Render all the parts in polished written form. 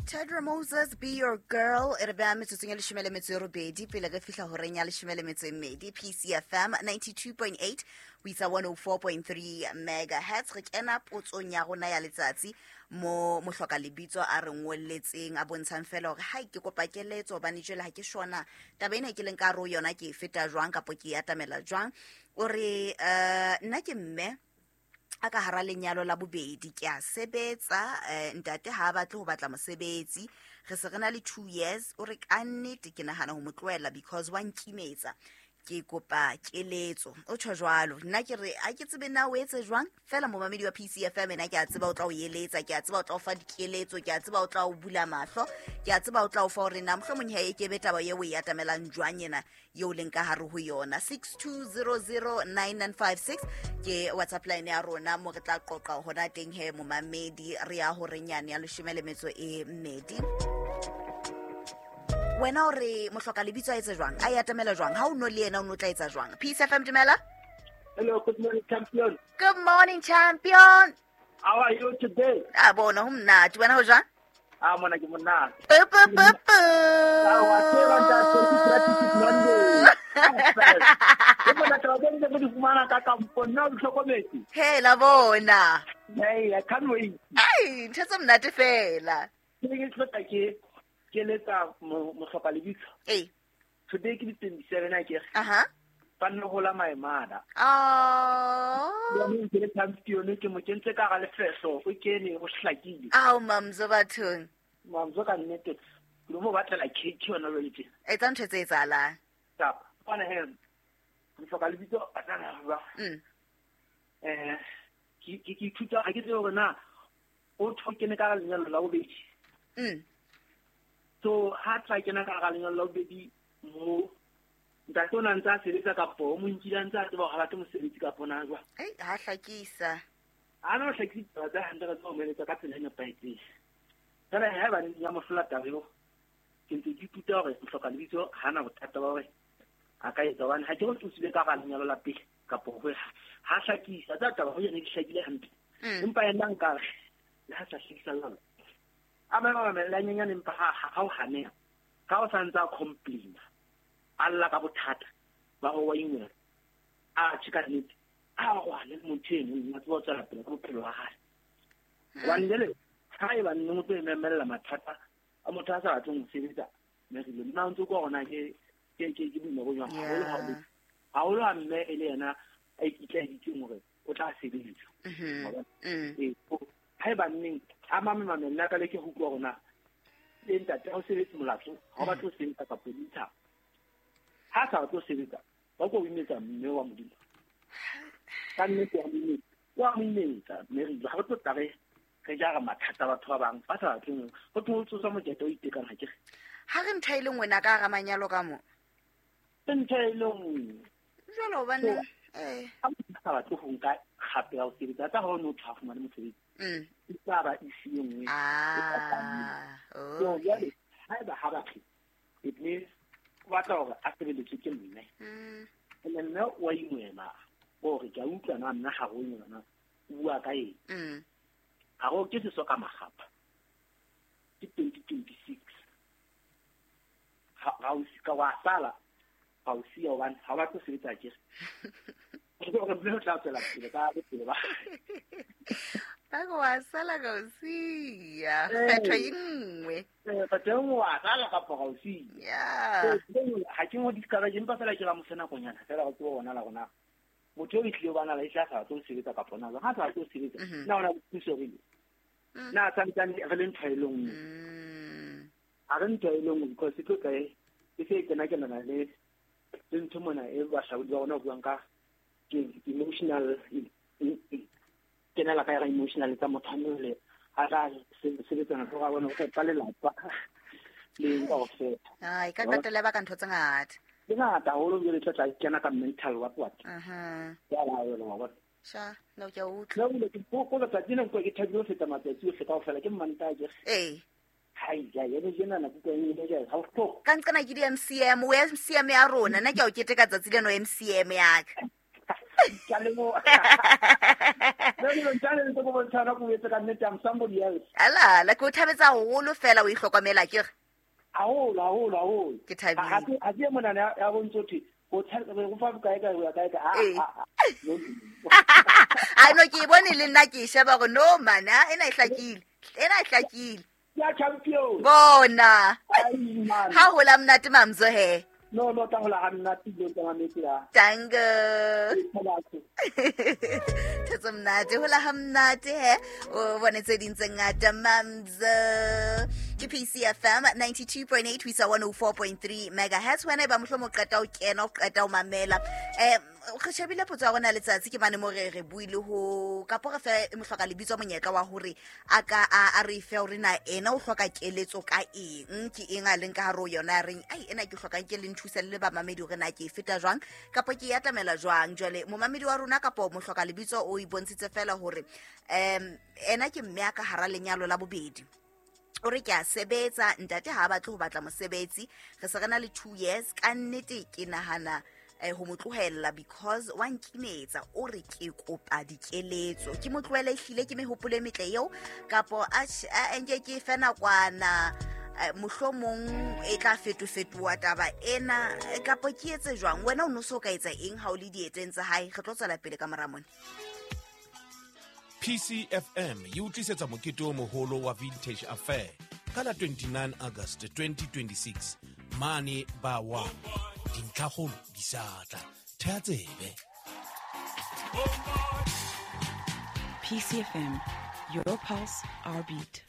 Tedra Moses, Be Your Girl, e re beha metsotsong ya 18 pele re fihla horeng ya 12. PCFM 92.8 ho isa 104.3 megahertz. Re kena potsong ya rona ya letsatsi mo mohloka lebitso a re ngolletseng a bontshang fela hore hai ke kopa keletso hobane jwale ha ke shona taba ena ke leng ka hare ho yona ke e feta jwang kapo ke e atamela jwang. O re nna ke mme a ka hara lenyalo la bobedi, ke a sebetsa, ntate ha a batle ho batla mosebetsi, re se re na le 2 years. O re ka nnete ke nahana ho mo tlohela because wa nkimetsa, ke kopa keletso. O tjho jwalo. Nna ke re a ke tsebe na o etse jwang fela momamedi wa PCFM ena ke a tseba o tla o eletsa, ke a tseba o tla o fa dikeletso, ke a tseba o tla o bula mahlo, ke a tseba o tla o fa hore na mohlomong ha e ke be taba eo o e atamelang jwang ena eo leng ka hare ho yona. 62009956 ke WhatsApp line ya rona mo re tla qoqa hona teng he momamedi. Re ya horeng yane ya 12. Wena o re mohloka lebitso a etse jwang, a e atamela jwang, ha o no le yena o no tla etsa jwang? Peace FM, dumela. Hello, good morning, champion. Good morning, champion. How are you today? A bona ho monate. Wena ho jwang? Ah, mona ke monate. Pu, pu, pu, pu. Ah, wa tseba ntate, ke practice Monday. Ke bona taba tse ntse re di fumana ka kampong, nna o di hlokometse? He, la bona. Hey, I can't wait. Ai, ntho tse monate fela. Ke ne ke tlo tla ke keletsa mohloka lebitso. Ee. Today ke di 27 a ke re. Aha. Ba nne hola my mother. Oh. Jaanong ke le champion, ke mo kentse ka hara lefehlo, o kene, o hlakile. Ao, Mamzo bathong. Mamzo ka nnete, ke lo mo batlela cake yona jwale tje. Etsa ntho tse etsahalang. Kapa, bona he, mohloka lebitso a tla na ba. Ke ithuta, ha ke tsebe hore na o tho kene ka hara lenyalo la bobedi. So ha tla kena ka hara lenyalo la bobedi mo ntate o na ntse a sebetsa kapo o mo nkile a ntse a tseba hore ha batle mosebetsi kapo na jwang. Ei, ha hlakisa. Ha no hlakisa ditaba tsa hantle, re tseba ho mo eletsa ka tsela e nepahetseng. Jwale haeba ne ya mo hlola taba eo, ke ntse ke ithuta hore mohloka lebitso ha na bothata ba hore a ka etsa, hobane ha ke re o tswile ka hara lenyalo la pele kapo ho ha hlakisa tsa taba ho yena di hlakile hantle. Empa yena nka re le ha sa hlakisa lona. A ba ba mamella nyenyane, empa ha o haneha, ka o sa ntse a complain, a lla ka bothata ba ho wa ingwela, a tjhe ka nnete, a rwale le motho eno, a tseba ho tswela pele ka bophelo ba hae. Hobane jwale, ha eba nne o tlo emella mathata a motho a sa batleng ho sebetsa, mme re ile, nna o ntso kwa hore na ke boima bo jwang, haholo ha o le, haholo ha mme e le yena a ikitlaeditseng hore o tla sebetsa. Wa bona? Ee, ha eba nneng, a mame mamella ka leke ho utlwa hore na le ntate ha o sebetse molato, ha o batle ho sebetsa kapa o dintsha. Ha sa batle ho sebetsa, ba ko o imetsa mme wa Modimo. Ka nnete wa mo imetsa, wa mo imetsa, mme re ile, ha re tlo tla re jara mathata batho ba bang, ba sa batleng ho thwe ho tsoswa mokete o itekang, ha ke re. Ha re ntho e le nngwe na ka hara manyalo ka mo? Ke ntho e le nngwe. Jwale hobane, So, ha motho a sa batle ho nka kgato ya ho sebetsa, tsa ha o no tshwa fumane mosebetsi. E tla ba issue e nngwe. So, jwale, haeba ha batle, it means o batla hore a sebeletswe ke mme. Ene mme o a ingwela, o re ke a utlwa na nna ha ho yona, o bua ka eng? Ha ho ke seso ka makgapha. Ke 2026. Ha, ha o sika wa sala, ha o siya hobane ha o batle ho sebetsa akere. Hore mme o tla tswela pele ka bophelo ba hae. Ba re wa sala ka o siya. Kgetho e nngwe. Kgetho e nngwe wa sala kapa ga o siya. So, ha ke mo discourage, empa fela ke ba mo fe nakonyana fela go tseba bona la rona. Motho eo e tlile bana la e tla sa batle ho sebetsa kapa na jwang. Ha sa batle ho sebetsa, na o na le thuso re ile? Na santsane re le ntho e le nngwe? Ha re ntho e le nngwe because e tlo tla e se e kena kenana le ntho mona e bahlaodi ba rona ho buang ka ke emotional, kenela ka yona emotional tsa motho a mole, a tla sebetsana le hore a bone ho fepa lelapa le kaofela. Ai, ka qetella ba ka ntho tse ngata. Ke ngata haholo jwale tla tla kena ka mental what what. Ya la yona, wa bona. Sha, no ke a utlwa. No, le ke ko letsatsi lena ke thabile ho feta matsatsi ohle kaofela, ke Mantaha ke re. Ee. Hai, ja, ya be jena nako ke eng, ja, ha o hloke. Ka nqena ke di MCM, o MCM ya rona, nna ke a o keteka tsatsi leno MCM ya ka. Ke a leboha. Jwale ntjale ntse ko bontshana ko etse ka nnete, I'm somebody else. Ala la ke o thabetsa haholo fela o ihlokomela ke re. Haholo, haholo, haholo. Ke thabile. Ha ke monana ya bontso thwe o thabetse go fa bokae kae ho ya kae kae. No. A no ke e bone le nna ke e sheba gore no man, ena e hlakile. Ena e hlakile. Ya champion. Bona. Ai, man. Ha hola monate Mamzo he. No, no, tla hola ha monate dilo tsa mametse ya. Tango. Thabatso. Thetso monate, hola ha monate he. O bone tse ding tse ngata Mamzo. Ke PCFM 92.8 ho isa 104.3 megahertz. Wena e ba mohlomong o qeta ho kena, o qeta ho mamela. Re shebile potso ya rona letsatsi ke mane mo re re buile ho kapo re fe mohloka lebitso monyetla wa hore a ka a re fe hore na ena o hloka keletso ka eng, ke eng a leng ka hare ho yona a reng ai ena ke hlokang ke le nthuse le bamamedi hore na ke e feta jwang kapo ke e atamela jwang. Jwale momamedi wa rona kapo mohloka lebitso o ipontshitse fela hore ena ke mme a ka hara lenyalo la bobedi. O re ke a sebetsa, ntate ha a batle ho batla mosebetsi, re se re na le 2 years, ka nnete ke nahana ho mo tlohella because wa nkimetsa, o re ke kopa dikeletso, ke mo tlohele ehlile ke mehopolo e metle eo kapo a nke ke fe nakwana, mohlomong e tla fetofetoha taba ena, kapo ke etse jwang. Wena o no so ka etsa eng ha o le dieteng tsa hae? Re tlo tswela pele ka mora mona. PCFM e utlwisetsa mokete o moholo wa Vintage Affair ka la 29 August 2026 mane ba 1. Dintlhakgolo di sa tla. Theha tsebe. PCFM, your pulse, our beat.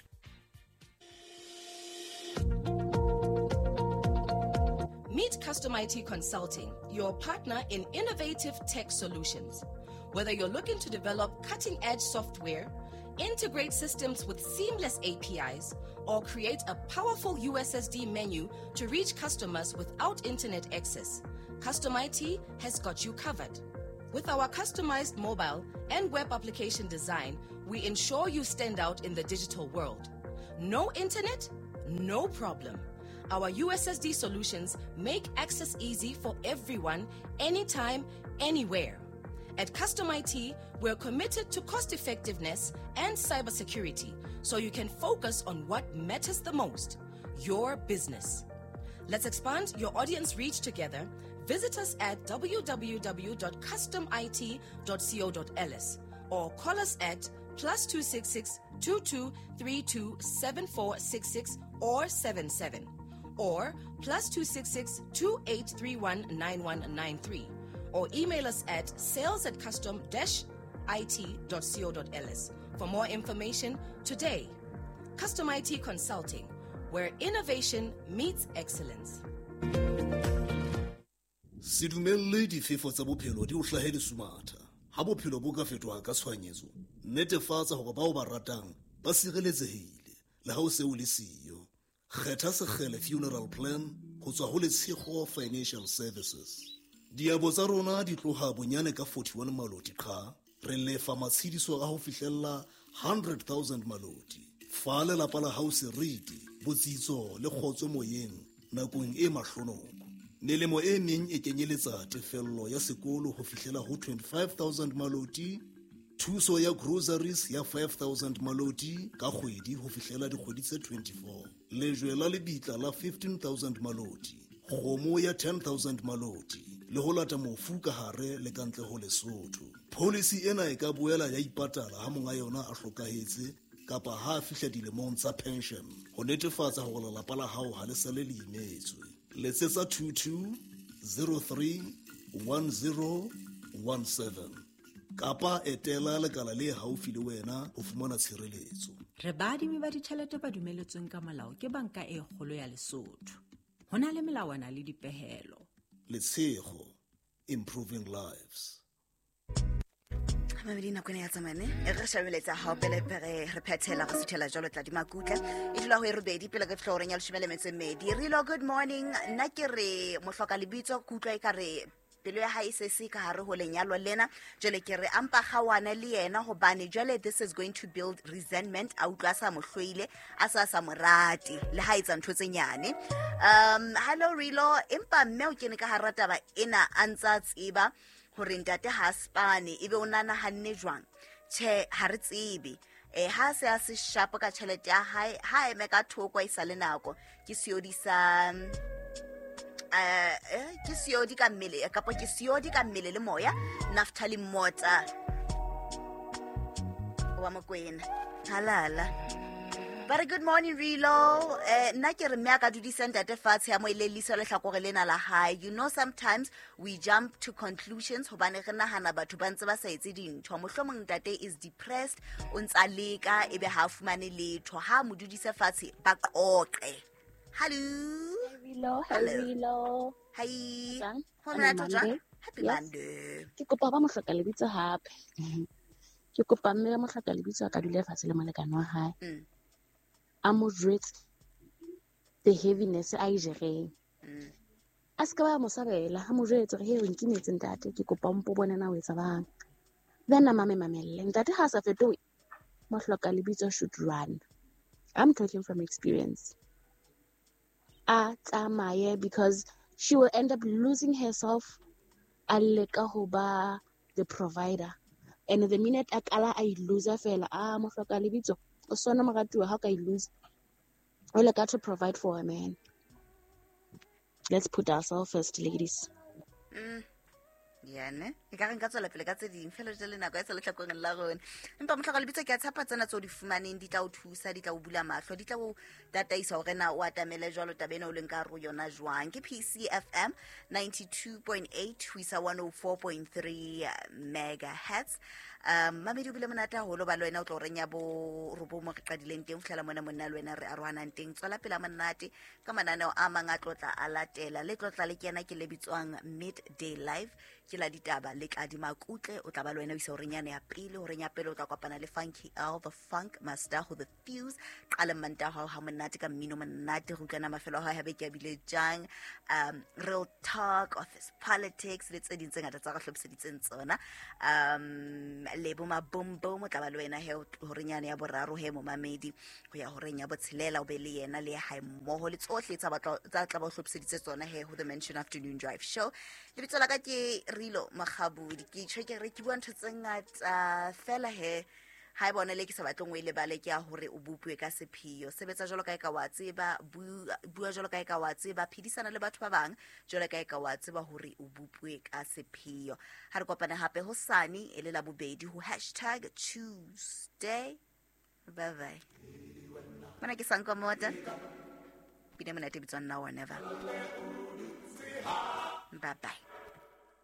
Meet Custom IT Consulting, your partner in innovative tech solutions. Whether you're looking to develop cutting-edge software, integrate systems with seamless APIs, or create a powerful USSD menu to reach customers without internet access, Custom IT has got you covered. With our customized mobile and web application design, we ensure you stand out in the digital world. No internet? No problem. Our USSD solutions make access easy for everyone, anytime, anywhere. At Custom IT, we're committed to cost effectiveness and cybersecurity, so you can focus on what matters the most, your business. Let's expand your audience reach together. Visit us at www.customit.co.ls or call us at +266 22 32 7466 or 77 or +266 2831 9193. Or email us at sales@custom-it.co.ls for more information today. Custom IT Consulting, where innovation meets excellence. Se dumelle difefo tsa bophelo di o hlahe lesumatha. Ha bophelo bo ka fetoha ka tshohanyetso, netefatsa hore bao ba ratang ba sireletsehile le ha o se o le siyo. Kgetha Sekgele Funeral Plan ho tswa ho Letshego Financial Services. Diabo tsa rona di tloha bonyane ka 41 maloti qha, re lefa matshediso a ho fihlella 100,000 maloti. Fa lelapa la hao seriti, botsitso le kgotso moyeng nakong e mahlonoko. Melemo e meng e kenyeletsa tefello ya sekolo ho fihlela ho 25,000 maloti, thuso ya groceries ya 5,000 maloti ka kgwedi ho fihlela dikgwedi tse 24, lejwe la lebitla la 15,000 maloti, kgomo ya 10,000 maloti, le ho lata mofu ka hare le ka ntle ho Lesotho. Policy ena e ka boela ya ipatala ha monga yona a hlokahetse kapa ha a fihla dilemong tsa pension, ho netefatsa hore lelapa la hao ha le sale le imetswe. Letsetsa 22 03 10 17 kapa etela lekala le haufi le wena ho fumana tshireletso. Re baadimi ba ditjhelete ba dumeletsweng ka molao ke banka e kgolo ya Lesotho. Ho na le melawana le dipehelo. Letshego, improving lives. Mamedi nako ena ya tsamane e re shabeletsa hao pele re phethela re suthela jwalo tla di makutla e dula ho e robedi pele re fihla horeng ya 12. Re lo good morning, nna ke re mohloka lebitso ke utlwa e ka re pelo ya hae se se ka hare ho lenyalo lena, jwale ke re ampa kgawana le yena hobane jwale this is going to build resentment. A utlwa sa mo hloile, a sa mo rate le ha etsa ntho tse nyane. Hello Rilo, empa mme o kene ka hara taba ena a ntsa tseba Hore ntate ha a spane ebe o nanahanne jwang? Tjhe, ha re tsebe. Ha se a se sharp ka tjhelete ya hae, ha a eme ka thoko a isa le nako. Ke seodi sa ke seodi ka mmele kapa ke seodi ka mmele le moya. Naftali Mota wa Mokwena. Halala. Ba re good morning Rilo. Nna ke re mme a ka dudisa ntate fatshe ya mo elellisa lehlakore lena la hae. You know, sometimes we jump to conclusions hobane re nahana batho ba ntse ba sa etse dintho. Mohlomong ntate is depressed, o ntsa leka ebe ha a fumane letho. Ha mo dudise fatshe ba qoqe. Hello. Rilo, Hello. Rilo. Hi. Jwang? Ho monate Happy jwang? Monday. Happy Yes. Monday. Ke kopa ba mohloka lebitso hape. Ke kopa mme wa mohloka lebitso a ka dula fatshe le molekane wa hae. A mo jwetse the heaviness a e jereng. A se ka ba mo sabela, a mo jwetse hore, "Hey, o nkimetse ntate, ke kopa o mpo bone na o etsa bang." Then a mame mamelle. Ntate ha a sa fetohe, mohloka lebitso should run. I'm talking from experience. A tsamaye because she will end up losing herself a leka ho ba the provider. And the minute a kala a e loser fela, a mohloka lebitso, o sona moratuwa ha o ka e lose. O leka to provide for a man. Let's put ourselves first, ladies. Ya ne e ka re nka tswela pele ka tse ding fela jale nako ya sa lehlakoreng la rona. Empa mohloka lebitso ke a tshepa tsena tseo di fumaneng di tla o thusa, di tla o bula mahlo, di tla o tataisa hore na o atamele jwalo taba ena o leng ka hare ho yona jwang. Ke PCFM 92.8 ho isa 104.3 megahertz. Mamedi o bile monate haholo ba le wena o tlo reng ya bo robong mo re qadileng teng ho fihlela mona monna le wena re arohanang teng. Tswela pele monate ka mananeo a mang a tlotla a latela. Le tlotla le kena ke le bitswang Midday Live, ke la ditaba le Tladi Makutle. O tla ba le wena o isa horeng yane ya pele. Horeng ya pele o tla kopana le Funky L, the Funk Master ho The Fuse. Qala manta hao ha monate ka mmino monate, re utlwana mafelo a hao haebe ke a bile jang. Real talk, office politics le tse ding tse ngata tsa re hlophiseditseng tsona. Lebo Mabombo o tla ba le wena he horeng yane ya boraro he momamedi ho ya horeng ya botshelela o be le yena le hae mmoho le tsohle tsa batla tsa tla ba o hlophiseditse tsona he ho The Mansion Afternoon Drive Show. Lebitso la ka ke Rilo Makgabudi. Ke tjho ke re ke bua ntho tse ngata fela he ha e bona le ke sa batleng o e lebale ke ya hore o bopuwe ka sepheo. Sebetsa jwalo ka e ka wa tseba, bua jwalo ka e ka wa tseba, phedisana le batho ba bang jwalo ka e ka wa tseba hore o bopuwe ka sepheo. Ha re kopane hape hosane e le la bobedi ho hashtag Tuesday. Bye bye. Mona ke Sanko Mota. Pina monate e bitswang Now or Never. Bye bye.